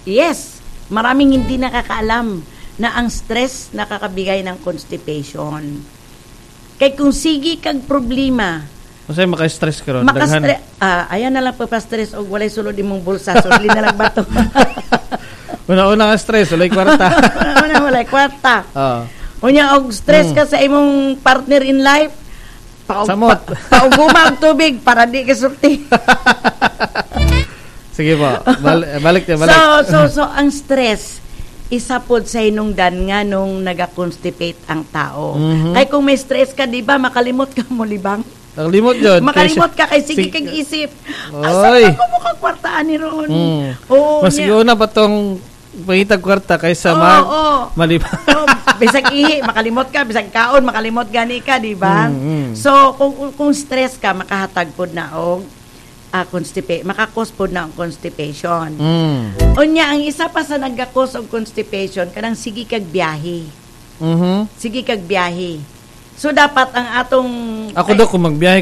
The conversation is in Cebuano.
Yes, maraming hindi nakakaalam na ang stress nakakabigay ng constipation. Kay kung sige kag problema, Unsay maka-stress karon? Daghan. Makastre ah, ayan na lang pa-stress og walay sulod imong bulsa, sudli na lang ba to? Una-una nga stress, walay kwarta. Una walay kwarta. Oo. Unya og stress ka sa imong partner in life, Samot. Pauguma og tubig para di ka sulti. Sige po. Balik balik. So ang stress isa pod sa hinungdan nga nung naga-constipate ang tao. Kay kung may stress ka, di ba, makalimot ka mo libang. Nakalimot yun. Makalimot ka kay sige kag isip. Asa Oy. ka ko mukha ni ron? Oo, Mas niya. una pa tong pangitag kwarta kaysa mag maliba. Oh, bisag ihi, makalimot ka, bisag kaon, makalimot gani ka, di ba? So, kung stress ka, makahatag pod na og maka-cause pod na ang constipation. Unya, ang isa pa sa nagka-cause og constipation, kanang sige kag biyahe. Sige kag biyahe. So, dapat ang atong Ako daw kung magbiyahe